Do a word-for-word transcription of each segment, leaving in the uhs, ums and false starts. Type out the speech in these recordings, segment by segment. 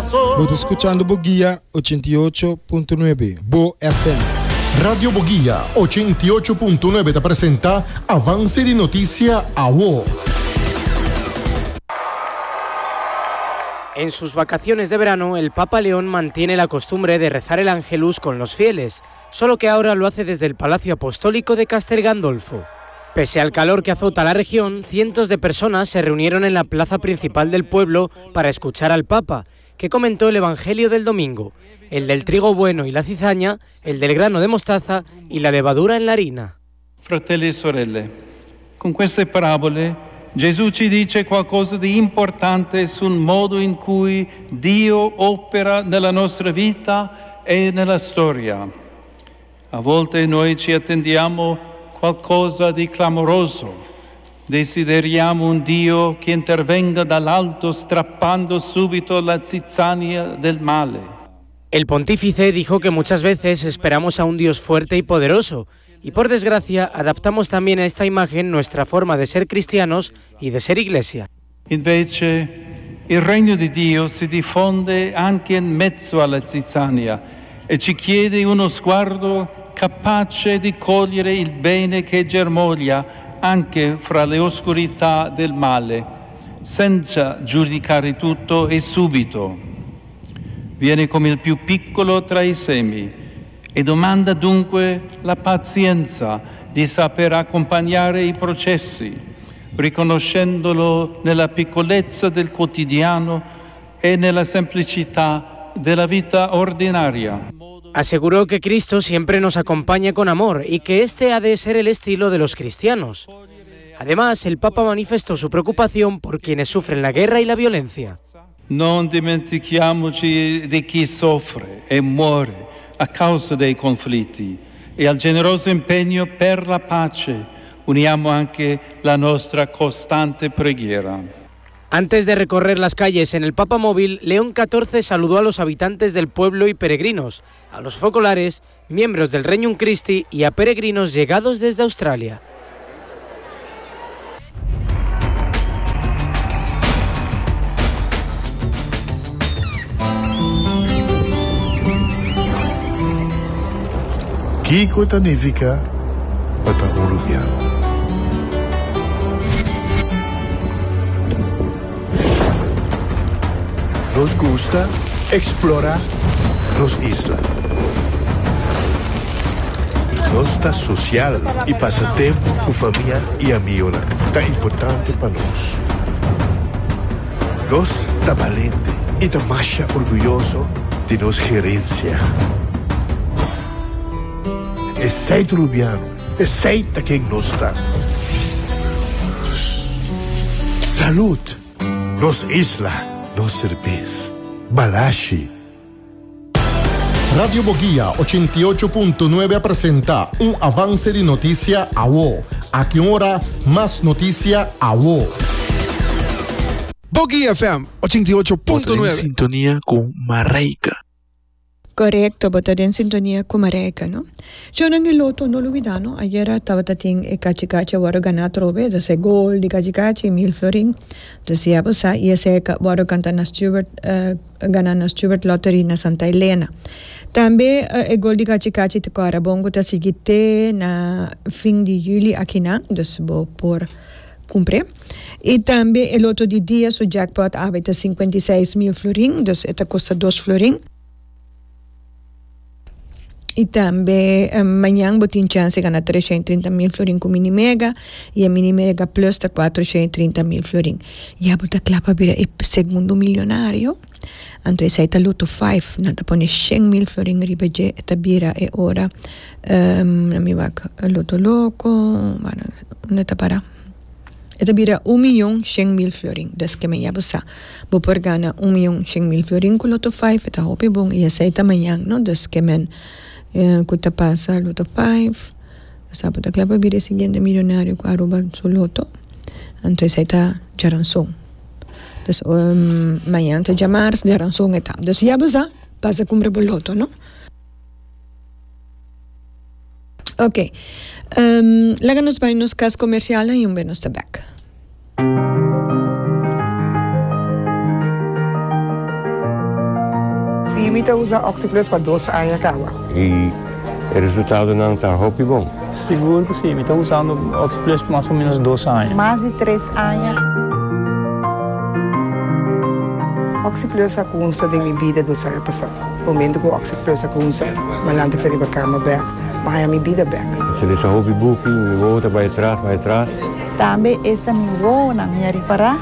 Bo ta skuchando Bo Guia ochenta i ocho punto nuebe, Bo F M. Radio Boguia ochenta i ocho punto nuebe ta presentá Avanse di Notisia Awo. En sus vacaciones de verano, el Papa León mantiene la costumbre de rezar el Ángelus con los fieles, solo que ahora lo hace desde el Palacio Apostólico de Castel Gandolfo. Pese al calor que azota la región, cientos de personas se reunieron en la plaza principal del pueblo para escuchar al Papa, que comentó el Evangelio del domingo, el del trigo bueno y la cizaña, el del grano de mostaza y la levadura en la harina. Fratelli e sorelle, con queste parabole Gesù ci dice qualcosa di importante sul modo in cui Dio opera nella nostra vita e nella storia. A volte noi ci attendiamo qualcosa di clamoroso. Desideriamo un Dio che intervenga dall'alto strappando subito la zizzania del male. El pontífice dijo que muchas veces esperamos a un Dios fuerte y poderoso, y por desgracia adaptamos también a esta imagen nuestra forma de ser cristianos y de ser iglesia. Invece il regno di Dio si diffonde anche in mezzo alla zizzania e ci chiede uno sguardo capace di cogliere il bene che germoglia anche fra le oscurità del male, senza giudicare tutto e subito. Viene come il più piccolo tra i semi e domanda dunque la pazienza di saper accompagnare i processi, riconoscendolo nella piccolezza del quotidiano e nella semplicità della vita ordinaria. Aseguró que Cristo siempre nos acompaña con amor y que este ha de ser el estilo de los cristianos. Además, el Papa manifestó su preocupación por quienes sufren la guerra y la violencia. Non dimentichiamoci di chi soffre e muore a causa dei conflitti e al generoso impegno per la pace uniamo anche la nostra costante preghiera. Antes de recorrer las calles en el Papa Móvil, León catorce saludó a los habitantes del pueblo y peregrinos, a los focolares, miembros del Regnum Christi y a peregrinos llegados desde Australia. Kiko ta nifiká pa ta un rubiano? Nos gusta eksplorá nos isla. Nos ta sosial i pasa tempu ku famia i amigu ta importante pa nos. Nos ta balente i ta masha orguyoso di nos herensia. Esei ta rubiano, esei ta ken nos ta. Salud, nos isla, nos serbes. Balashi. Radio Boguia ochenta i ocho punto nuebe ta presentá un Avanse di Notisia Awo. Aki ora, mas notisia awo. Boguia F M ochenta i ocho punto nuebe. Sintonia ku Mareika. Korekto, bo ta den sintonia ku Mareika, no? Shonan, e loto, no lubidá, no? Ayera tabata tin e kachi kachi awor gana trobe, dus e gol di kachi kachi, mil florin. Dus ya bo sa, i esei awor kanta na Stewart, uh, gana na Stewart Lottery na Santa Elena. Tambe uh, e gol di kachi kachi te kora bongo ta sigui te na fin di yüli akinan, dus bo por kumpra. I tambe e loto di dia, su jackpot awe ta sinkuenta i seis mil florin, dus e ta kosta dos florin. I tambe um, mañan bo tin chèns di gana tresshent i trinta mil florin ku Mini Mega i e Mini Mega Plus ta kuatershent i trinta mil florin. Ya bo ta kla pa bira e segundo milionario. Anto esei ta Lotto sinku, nan ta pone shen mil florin riba dje, ta bira e ora um, mi wak Lotto Loko, bueno, unda ta para? E ta bira un mion shen mil florin. Dus ke men ya bo sa. Bo por gana un mion shen mil florin ku Lotto sinku, ta hopi bon i esei ta mañan, no? Dus ke men eh, ku ta pasa Lotto sinku. Sa bo ta kla pa bira e siguiente milionario ku Aruba su Lotto. Anto esei ta djaranson. Dus um, mañan ta djamars, djaranson e ta. Dus ya bo sa, pasa kumpra bo Lotto, no? Ok. Um, laga nos bai nos kas komersial i un be nos ta back. Mi ta usa OxiPlus pa dos aña kaba. I e resultadonan ta hopi bon. Sigur ku si, mi ta usando OxiPlus mas o ménos dos aña. Mas di tres aña. OxiPlus a kuminsá den mi bida dos aña pasá. Momento ku OxiPlus a kuminsá, m'a lanta for di kama bèk, m'a mi bida bèk. Si lesa hopi buki, mi wowo ta bai atras, bai atras. Tambe esta mi wowonan, mi a ripará,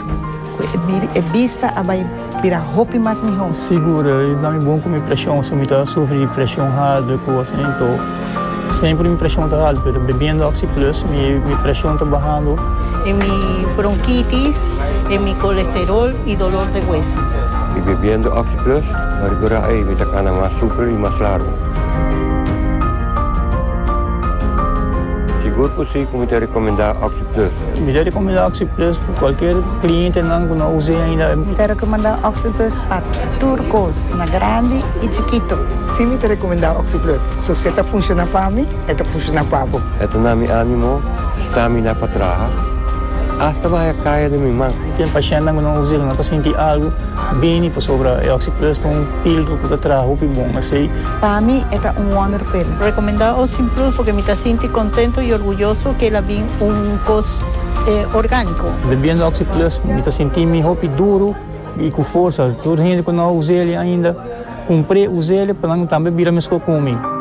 e bista a bai bira hopi mas mihó. Sigur, ta mi bon ku mi preshon, si mi ta sufri di preshon haltu, kos, anto semper mi preshon ta haltu, ma bebiendo OxiPlus, mi, mi preshon ta bahando. En mi bronquitis, en mi colesterol y dolor de hueso. I bebiendo OxiPlus, m'a ripará, ei, mi ta kana mas super i mas largu. Sigur ku si, ku mi ta rekomendá OxiPlus. Mi ta rekomendá OxiPlus pa kualke klientenan ku no a usa ainda. Mi ta rekomendá OxiPlus pa tur kos, na grandi i chikitu. Si, mi ta rekomendá OxiPlus. Si e ta funshoná pa mi, e ta funshoná pa bo. E ta duna mi ánimo, stamina pa traha. Asta bai kaya di mi man. Tin pashènt ku no usa, no ta sinti algu bon pasobra e OxiPlus ta un filtro ku ta traha bon, asina. Pa mi, e ta un wonder pill. Rekomendá OxiPlus pasobra mi ta sinti kontentu i orguyoso ku el a bin un kos eh, orgániko. Bebiendo OxiPlus, mi ta sinti mi hopi duru i ku forsa. Tur hende ku no a usa ainda, kumpra, usa pa tambe bira mes ku mi.